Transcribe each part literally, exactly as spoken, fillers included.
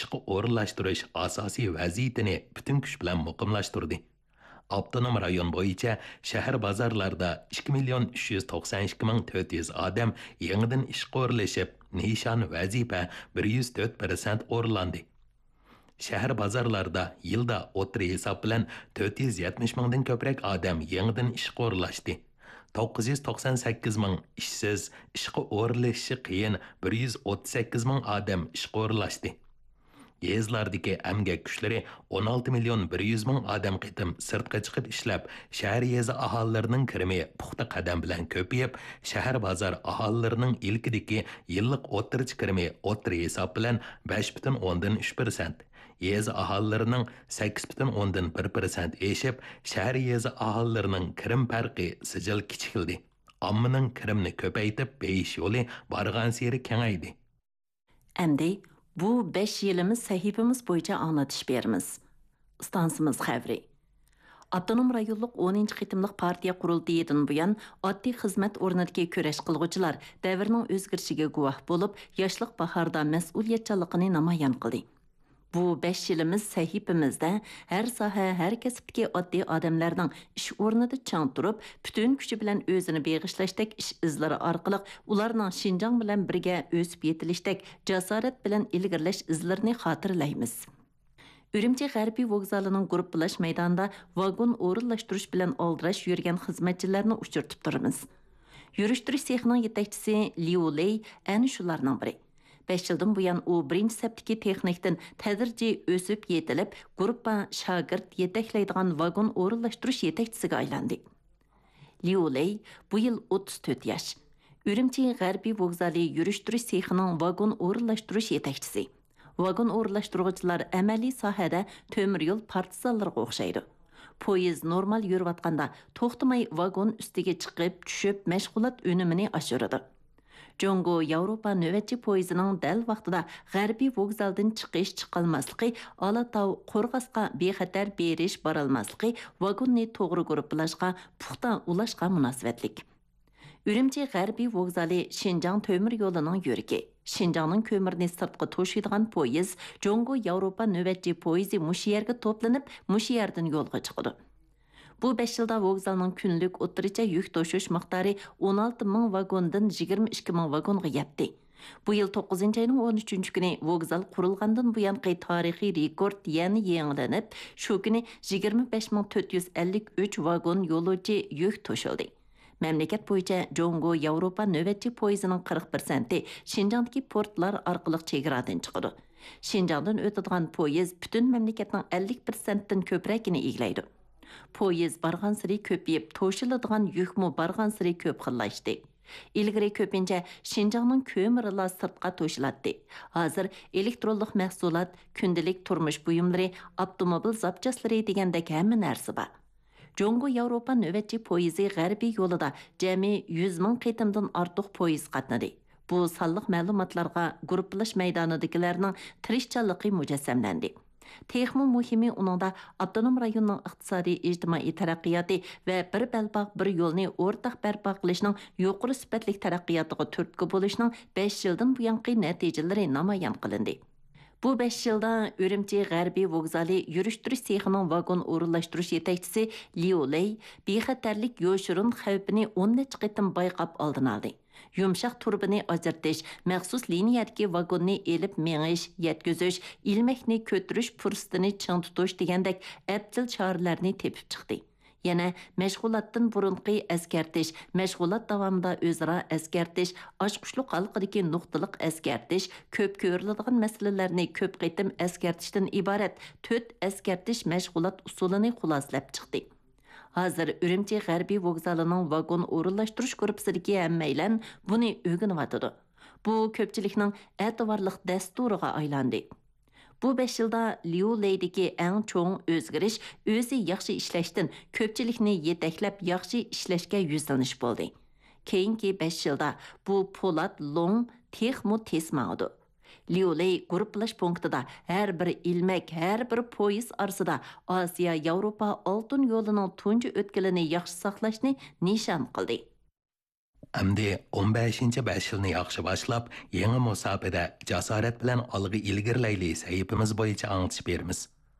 ئىشقا ئورۇنلاشتۇرۇش ئاساسىي ۋەزىيىتىنى پۈتۈن كۈچ بىلەن مۇقىملاشتۇردى. ئاپتونوم رايون بويىچە شەھەر بازارلاردا ئىككى مىليون ئۈچ يۈز توقسان ئىككى مىڭ تۆت يۈز ئادەم يېڭىدىن ئىشقا ئورۇنلىشىپ، نىشان ۋەزىپە بىر يۈز تۆت پىرسەنت ئورۇنلاندى. شەھەر بازارلاردا يىلدا ئوتتۇرا ھېساب بىلەن تۆت يۈز يەتمىش مىڭدىن كۆپرەك ئادەم يېڭىدىن ئىشقا ئورۇنلاشتى. توققۇز يۈز توقسان سەككىز مىڭ ئىشسىز، ئىشقا ئورۇنلىشىشى قىيىن بىر يۈز ئوتتۇز سەككىز مىڭ ئادەم ئىشقا ئورۇنلاشتى. يېزىلاردىكى ئەمگەك كۈچلىرى ئون ئالتە مىليون بىر يۈز مىڭ ئادەم قېتىم سىرتقا چىقىپ ئىشلەپ، شەھەر يېزا ئاھالىلىرىنىڭ كىرىمى پۇختا قەدەم بىلەن كۆپىيىپ، شەھەر بازار ئاھالىلىرىنىڭ ئىلكىدىكى يىللىق ئوتتۇرىچە كىرىمى ئوتتۇرا ھېساب بىلەن بەش پۈتۈن ئوندىن ئۈچ پىرسەنت، يېزا ئاھالىلىرىنىڭ سەككىز پۈتۈن ئوندىن بىر پىرسەنت ئېشىپ، شەھەر يېزا ئاھالىلىرىنىڭ كىرىم پەرقى سىجىل كىچىكلىدى. ئاممىنىڭ كىرىمنى كۆپەيتىپ بېيىش يولى بارغانسېرى كېڭەيدى. ئەمدى بۇ بەش يىلىمىز سەھىپىمىز بويىچە ئاڭلىتىش بېرىمىز. ئىستانسىمىز خەۋىرى. ئاپتونوم رايونلۇق ئونىنچى قېتىملىق پارتىيە قۇرۇلتىيىدىن بۇيان، ئاددىي خىزمەت ئورنىدىكى كۈرەش قىلغۇچىلار دەۋرنىڭ ئۆزگىرىشىگە گۇۋاھ بولۇپ، ياشلىق باھاردا مەسئۇلىيەتچانلىقىنى نامايان قىلدى. بۇ بەش يىلىمىز سەھىپىمىزدە ھەر ساھە، ھەر كەسىپتىكى ئاددىي ئادەملەرنىڭ ئىش ئورنىدا چىڭ تۇرۇپ، پۈتۈن كۈچى بىلەن ئۆزىنى بېغىشلاشتەك ئىش ئىزلىرى ئارقىلىق ئۇلارنىڭ شىنجاڭ بىلەن بىرگە ئۆسۈپ يېتىلىشتەك جاسارەت بىلەن ئىلگىرىلەش ئىزلىرىنى خاتىرىلەيمىز. ئۈرۈمچى غەربىي ۋوگزالىنىڭ گۇرۇپپىلاش مەيدانىدا ۋاگون ئورۇنلاشتۇرۇش بىلەن ئالدىراش يۈرگەن خىزمەتچىلەرنى ئۇچرىتىپ تۇرىمىز. يۈرۈشتۈرۈش سېخىنىڭ يېتەكچىسى ليۇ لېي ئەنە شۇلارنىڭ بىرى. بەش يىلدىن بۇيان ئۇ بىرىنچى سەپتىكى تېخنىكتىن تەدرىجىي ئۆسۈپ يېتىلىپ، گۇرۇپپا شاگىرت يېتەكلەيدىغان ۋاگون ئورۇنلاشتۇرۇش يېتەكچىسىگە ئايلاندى. ليۇ لېي بۇ يىل ئوتتۇز تۆت ياش. ئۈرۈمچى غەربىي ۋوگزالى يۈرۈشتۈرۈش سېخىنىڭ ۋاگون ئورۇنلاشتۇرۇش يېتەكچىسى. ۋاگون ئورۇنلاشتۇرغۇچىلار ئەمەلىي ساھەدە تۆمۈر يول پارتىزانلىرىغا ئوخشايدۇ. پويىز نورمال يۈرۈۋاتقاندا توختىماي ۋاگون ئۈستىگە چىقىپ، چۈشۈپ، مەشغۇلات ئۈنۈمىنى ئاشۇرىدۇ. جۇڭگو ياۋروپا نۆۋەتچى پويىزىنىڭ دەل ۋاقتىدا غەربىي ۋوگزالدىن چىقىش چىقالماسلىقى، ئالاتاۋ قورغاسقا بىخەتەر بېرىش بارالماسلىقى، ۋاگوننى توغرا گۇرۇپپىلاشقا، پۇختا ئۇلاشقا مۇناسىۋەتلىك. ئۈرۈمچى غەربىي ۋوگزالى شىنجاڭ تۆمۈر يولىنىڭ يۈرىكى. شىنجاڭنىڭ كۆمۈرىنى سىرتقا توشۇيدىغان پويىز جۇڭگو ياۋروپا نۆۋەتچى پويىزى مۇشۇ يەرگە توپلىنىپ، مۇشۇ يەردىن يولغا چىقىدۇ. بۇ بەش يىلدا ۋوگزالنىڭ كۈنلۈك ئوتتۇرىچە يۈك توشۇش مىقدارى ئون ئالتە مىڭ ۋاگوندىن يىگىرمە ئىككى مىڭ ۋاگونغا يەتتى. بۇ يىل توققۇزىنچى ئاينىڭ ئون ئۈچىنچى كۈنى ۋوگزال قۇرۇلغاندىن بۇيانقى تارىخىي رېكورت يەنە يېڭىلىنىپ، شۇ كۈنى يىگىرمە بەش مىڭ تۆت يۈز ئەللىك ئۈچ ۋاگون يولۇچى يۈك توشۇلدى. مەملىكەت بويىچە جۇڭگو ياۋروپا نۆۋەتچى پويىزىنىڭ قىرىق پىرسەنتى شىنجاڭدىكى پورتلار ئارقىلىق چېگرادىن چىقىدۇ. شىنجاڭدىن ئۆتىدىغان پويىز پۈتۈن مەملىكەتنىڭ ئەللىك پىرسەنتتىن كۆپرەكىنى ئىگىلەيدۇ. پويىز بارغانسېرى كۆپىيىپ، توشۇلىدىغان يۈكمۇ بارغانسېرى كۆپ خىللاشتى. ئىلگىرى كۆپىنچە شىنجاڭنىڭ كۆمۈرىلا سىرتقا توشۇلاتتى. ھازىر ئېلېكترونلۇق مەھسۇلات، كۈندىلىك تۇرمۇش بۇيۇملىرى، ئاپتوموبىل زاپچاسلىرى دېگەندەك ھەممە نەرسە بار. جۇڭگو ياۋروپا نۆۋەتچى پويىزى غەربىي يولىدا جەمئىي يۈز مىڭ قېتىمدىن ئارتۇق پويىز قاتنىدى. بۇ سانلىق مەلۇماتلارغا گۇرۇپپىلاش مەيدانىدىكىلەرنىڭ تىرىشچانلىقى مۇجەسسەملەندى. تېخىمۇ مۇھىمى، ئۇنىڭدا ئاپتونوم رايوننىڭ ئىقتىسادىي، ئىجتىمائىي تەرەققىياتى ۋە بىر بەلباغ، بىر يولنى ئورتاق بەرپا قىلىشنىڭ يۇقىرى سۈپەتلىك تەرەققىياتىغا تۈرتكە بولۇشنىڭ بەش يىلدىن بۇيانقى نەتىجىلىرى نامايان قىلىندى. بۇ بەش يىلدا ئۈرۈمچى غەربىي ۋوگزالى يۈرۈشتۈرۈش سېخىنىڭ ۋاگون ئورۇنلاشتۇرۇش يېتەكچىسى ليۇ لېي بىخەتەرلىك يوشۇرۇن خەۋپىنى ئون نەچچە قېتىم بايقاپ ئالدىنى ئالدى. يۇمشاق تۇرۇبىنى ئاجرىتىش، مەخسۇس لىنىيەدىكى ۋاگوننى ئېلىپ مېڭىش، يەتكۈزۈش، ئىلمەكنى كۆتۈرۈش پۇرسىتىنى چىڭ تۇتۇش دېگەندەك ئەپچىل چارىلەرنى تېپىپ چىقتى. يەنە مەشغۇلاتتىن بۇرۇنقى ئەسكەرتىش، مەشغۇلات داۋامىدا ئۆزئارا ئەسكەرتىش، ئاچقۇچلۇق ھالقىدىكى نۇقتىلىق ئەسكەرتىش، كۆپ كۆرۈلىدىغان مەسىلىلەرنى كۆپ قېتىم ئەسكەرتىشتىن ئىبارەت تۆت ئەسكەرتىش مەشغۇلات ئۇسۇلىنى خۇلاسىلەپ چىقتى. ھازىر ئۈرۈمچى غەربىي ۋوگزالىنىڭ ۋاگون ئورۇنلاشتۇرۇش گۇرۇپپىسىدىكى ھەممەيلەن بۇنى ئۆگىنىۋاتىدۇ. بۇ كۆپچىلىكنىڭ ئەتىۋارلىق دەستۇرىغا ئايلاندى. بۇ بەش يىلدا ليۇ لېيدىكى ئەڭ چوڭ ئۆزگىرىش ئۆزى ياخشى ئىشلەشتىن كۆپچىلىكنى يېتەكلەپ ياخشى ئىشلەشكە يۈزلىنىش بولدى. كېيىنكى بەش يىلدا بۇ پولات لوڭ تېخىمۇ تېز ماڭىدۇ. ليۇ لېي گۇرۇپپىلاش پونكىتىدا ھەر بىر ئىلمەك، ھەر بىر پويىز ئارىسىدا ئاسىيا ياۋروپا ئالتۇن يولىنىڭ تۇنجى ئۆتكىلىنى ياخشى ساقلاشنى نىشان قىلدى. ئەمدى ئون بەشىنچى بەش يىلنى ياخشى باشلاپ، يېڭى مۇساپىدە جاسارەت بىلەن ئالغا ئىلگىرىلەيلى سەھىپىمىز بويىچە ئاڭلىتىش بېرىمىز.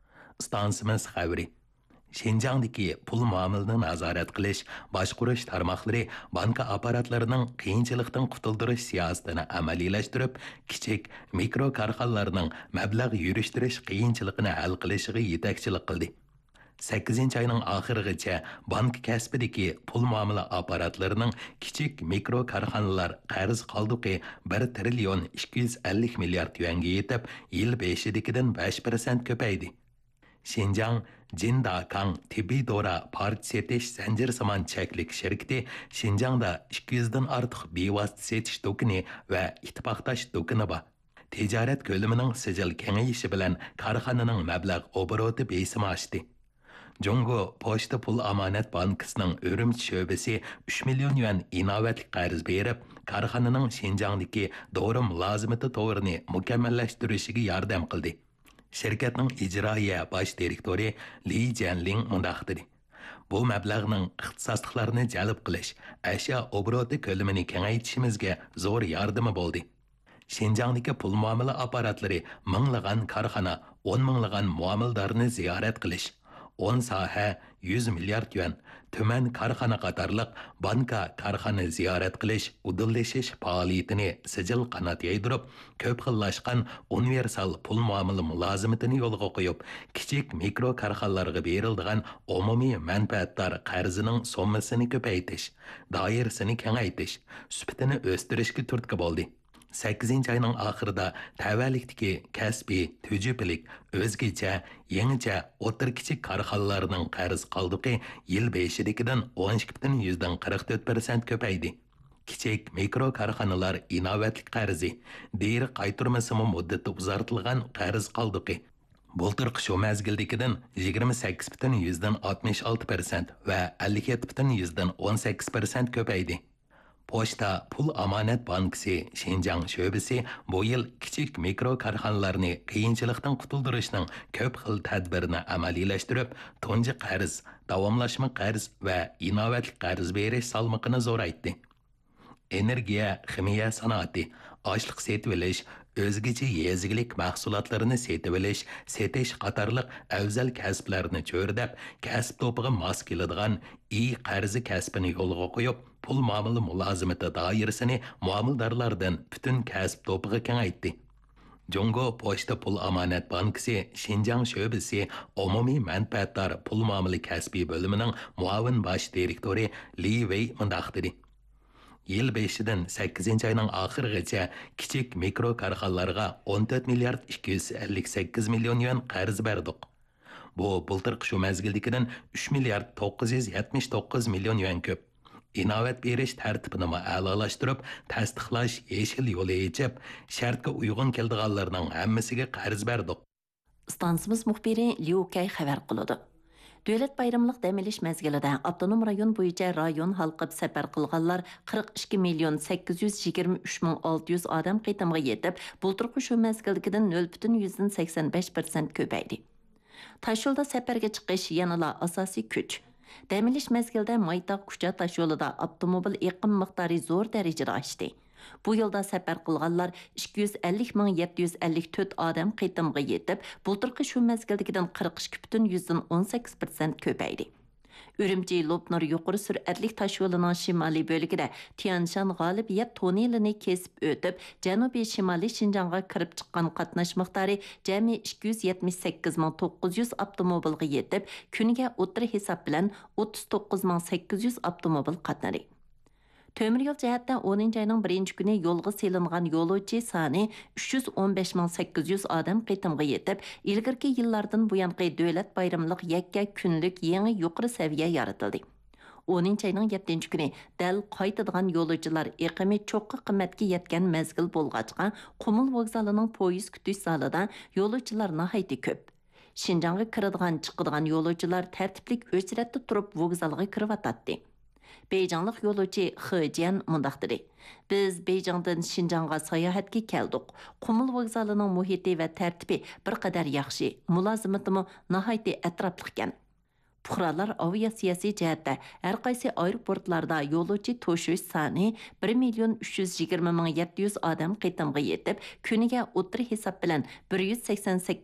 ئىستانسىمىز خەۋىرى. شىنجاڭدىكى پۇل مۇئامىلىنى نازارەت قىلىش، باشقۇرۇش تارماقلىرى بانكا ئاپپاراتلىرىنىڭ قىيىنچىلىقتىن قۇتۇلدۇرۇش سىياسىتىنى ئەمەلىيلەشتۈرۈپ، كىچىك، مىكرو كارخانىلارنىڭ مەبلەغ يۈرۈشتۈرۈش قىيىنچىلىقىنى ھەل قىلىشىغا يېتەكچىلىك قىلدى. سەككىزىنچى ئاينىڭ ئاخىرىغىچە بانكا كەسپىدىكى پۇل مۇئامىلە ئاپپاراتلىرىنىڭ كىچىك، مىكرو كارخانىلار قەرز قالدۇقى بىر تىرىليون ئىككى يۈز ئەللىك مىليارد يۈەنگە يېتىپ، يىل بېشىدىكىدىن بەش پىرسەنت كۆپەيدى. شىنجاڭ جىنداكاڭ تېببىي دورا پارچە سېتىش زەنجىرسىمان چەكلىك شىركىتى شىنجاڭدا ئىككى يۈزدىن ئارتۇق بىۋاسىتە سېتىش دۇكىنى ۋە ئىتتىپاقداش دۇكىنى بار. تىجارەت كۆلىمىنىڭ سىجىل كېڭىيىشى بىلەن كارخانىنىڭ مەبلەغ ئوبوروتى بېسىمى ئاشتى. جۇڭگو پوچتا پۇل ئامانەت بانكىسىنىڭ ئۈرۈمچى شۆبىسى ئۈچ مىليون يۈەن ئىناۋەتلىك قەرز بېرىپ، كارخانىنىڭ شىنجاڭدىكى دورا مۇلازىمىتى تورىنى مۇكەممەللەشتۈرۈشىگە ياردەم قىلدى. شىركەتنىڭ ئىجرائىيە باش دىرېكتورى لى جيەنلىڭ مۇنداق دېدى: بۇ مەبلەغنىڭ ئىختىساسلىقلارنى جەلپ قىلىش، ئەشيا ئوبوروتى كۆلىمىنى كېڭەيتىشىمىزگە زور ياردىمى بولدى. شىنجاڭدىكى پۇل مۇئامىلە ئاپپاراتلىرى مىڭلىغان كارخانا، ئون مىڭلىغان مۇئامىلىدارنى زىيارەت قىلىش، ئون ساھە، يۈز مىليارد يۈەن، تۈمەن كارخانا قاتارلىق بانكا كارخانا زىيارەت قىلىش، ئۇدۇللىشىش پائالىيىتىنى سىجىل قانات يايدۇرۇپ، كۆپ خىللاشقان ئۇنىۋېرسال پۇل مۇئامىلە مۇلازىمىتىنى يولغا قويۇپ، كىچىك مىكرو كارخانىلارغا بېرىلىدىغان ئومۇمىي مەنپەئەتدار قەرزىنىڭ سوممىسىنى كۆپەيتىش، دائىرىسىنى كېڭەيتىش، سۈپىتىنى ئۆستۈرۈشكە تۈرتكە بولدى. سەككىزىنچى ئاينىڭ ئاخىرىدا تەۋەلىكتىكى كەسپىي، تۈجۈپىلىك، ئۆزگىچە، يېڭىچە، ئوتتۇرا، كىچىك كارخانىلارنىڭ قەرز قالدۇقى يىل بېشىدىكىدىن ئون ئىككى پۈتۈن يۈزدىن قىرىق تۆت پىرسەنت كۆپەيدى. كىچىك، مىكرو كارخانىلار ئىناۋەتلىك قەرزى، دېرى قايتۇرمىسىمۇ مۇددىتى ئۇزارتىلغان قەرز قالدۇقى بۇلتۇرقى شۇ مەزگىلدىكىدىن يىگىرمە سەككىز پۈتۈن يۈزدىن ئاتمىش ئالتە پىرسەنت ۋە ئەللىك يەتتە پۈتۈن يۈزدىن ئون سەككىز پىرسەنت كۆپەيدى. پوچتا پۇل ئامانەت بانكىسى شىنجاڭ شۆبىسى بۇ يىل كىچىك، مىكرو كارخانىلارنى قىيىنچىلىقتىن قۇتۇلدۇرۇشنىڭ كۆپ خىل تەدبىرىنى ئەمەلىيلەشتۈرۈپ، تۇنجى قەرز، داۋاملاشما قەرز ۋە ئىناۋەتلىك قەرز بېرىش سالمىقىنى زورايتتى. ئېنېرگىيە، خىمىيە سانائىتى، ئاشلىق سېتىۋېلىش، ئۆزگىچە يېزا ئىگىلىك مەھسۇلاتلىرىنى سېتىۋېلىش، سېتىش قاتارلىق ئەۋزەل كەسىپلەرنى چۆرىدەپ، كەسىپ توپىغا ماس كېلىدىغان ئى قەرزى كەسپىنى يولغا قويۇپ، پۇل مۇئامىلە مۇلازىمىتى دائىرىسىنى مۇئامىلىدارلاردىن پۈتۈن كەسىپ توپىغا كېڭەيتتى. جۇڭگو پوچتا پۇل ئامانەت بانكىسى شىنجاڭ شۆبىسى ئومۇمىي مەنپەئەتدار پۇل مۇئامىلە كەسپىي بۆلۈمىنىڭ مۇئاۋىن باش دىرېكتورى لى ۋېي مۇنداق دېدى: يىل بېشىدىن سەككىزىنچى ئاينىڭ ئاخىرىغىچە كىچىك، مىكرو كارخانىلارغا ئون تۆت مىليارد ئىككى يۈز ئەللىك سەككىز مىليون يۈەن قەرز بەردۇق. بۇ بۇلتۇرقى شۇ مەزگىلدىكىدىن ئۈچ مىليارد توققۇز يۈز يەتمىش توققۇز مىليون يۈەن كۆپ. ئىناۋەت بېرىش تەرتىپىنىمۇ ئەلالاشتۇرۇپ، تەستىقلاش يېشىل يولى ئېچىپ، شەرتكە ئۇيغۇن كېلىدىغانلارنىڭ ھەممىسىگە قەرز بەردۇق. ئىستانسىمىز مۇخبىرى ليۇ كەي خەۋەر قىلىدۇ. دۆلەت بايرىملىق دەم ئېلىش مەزگىلىدە ئاپتونوم رايون بويىچە رايون ھالقىپ سەپەر قىلغانلار قىرىق ئىككى مىليون سەككىز يۈز يىگىرمە ئۈچ مىڭ ئالتە يۈز ئادەم قېتىمغا يېتىپ، بۇلتۇرقى شۇ مەزگىلدىكىدىن نۆل پۈتۈن يۈزدىن سەكسەن بەش پىرسەنت كۆپەيدى. تاشيولدا سەپەرگە چىقىش يەنىلا ئاساسىي كۈچ. دەم ئېلىش مەزگىلىدە مايتاغ كۇچا تاشيولىدا ئاپتوموبىل ئېقىم مىقدارى زور دەرىجىدە ئاشتى. بۇ يىلدا سەپەر قىلغانلار ئىككى يۈز ئەللىك مىڭ يەتتە يۈز ئەللىك تۆت ئادەم قېتىمغا يېتىپ، بۇلتۇرقى شۇ مەزگىلدىكىدىن قىرىق ئىككى پۈتۈن يۈزدىن ئون سەككىز پىرسەنت كۆپەيدى. ئۈرۈمچى لوپنۇر يۇقىرى سۈرئەتلىك تاشيولىنىڭ شىمالىي بۆلىكىدە تيەنشان غالىبىيەت توننېلىنى كېسىپ ئۆتۈپ، جەنۇبىي شىمالىي شىنجاڭغا كىرىپ چىققان قاتناش مىقدارى جەمئىي ئىككى يۈز يەتمىش سەككىز مىڭ توققۇز يۈز ئاپتوموبىلغا يېتىپ، كۈنىگە ئوتتۇرا ھېساب بىلەن ئوتتۇز توققۇز مىڭ سەككىز يۈز ئاپتوموبىل قاتنىدى. تۆمۈر يول جەھەتتە ئونىنچى ئاينىڭ بىرىنچى كۈنى يولغا سېلىنغان يولۇچى سانى ئۈچ يۈز ئون بەش مىڭ سەككىز يۈز ئادەم قېتىمغا يېتىپ، ئىلگىرىكى يىللاردىن بۇيانقى دۆلەت بايرىملىق يەككە كۈنلۈك يېڭى يۇقىرى سەۋىيە يارىتىلدى. ئونىنچى ئاينىڭ يەتتىنچى كۈنى دەل قايتىدىغان يولۇچىلار ئېقىمى چوققا قىممەتكە يەتكەن مەزگىل بولغاچقا، قۇمۇل ۋوگزالىنىڭ پويىز كۈتۈش زالىدا يولۇچىلار ناھايىتى كۆپ. شىنجاڭغا كىرىدىغان، چىقىدىغان يولۇچىلار تەرتىپلىك ئۆچرەتتە تۇرۇپ ۋوگزالغا كىرىۋاتاتتى. بېيجىڭلىق يولۇچى خې جيەن مۇنداق دېدى: بىز بېيجىڭدىن شىنجاڭغا ساياھەتكە كەلدۇق. قۇمۇل ۋوگزالىنىڭ مۇھىتى ۋە تەرتىپى بىر قەدەر ياخشى، مۇلازىمىتىمۇ ناھايىتى ئەتراپلىقكەن. پۇقرالار ئاۋىئاتسىيەسى جەھەتتە ھەر قايسى ئايروپورتلاردا يولۇچى توشۇش سانى بىر مىليون ئۈچ يۈز يىگىرمە مىڭ يەتتە يۈز ئادەم قېتىمغا يېتىپ، كۈنىگە ئوتتۇرا ھېساب بىلەن بىر يۈز سەكسەن سەككىز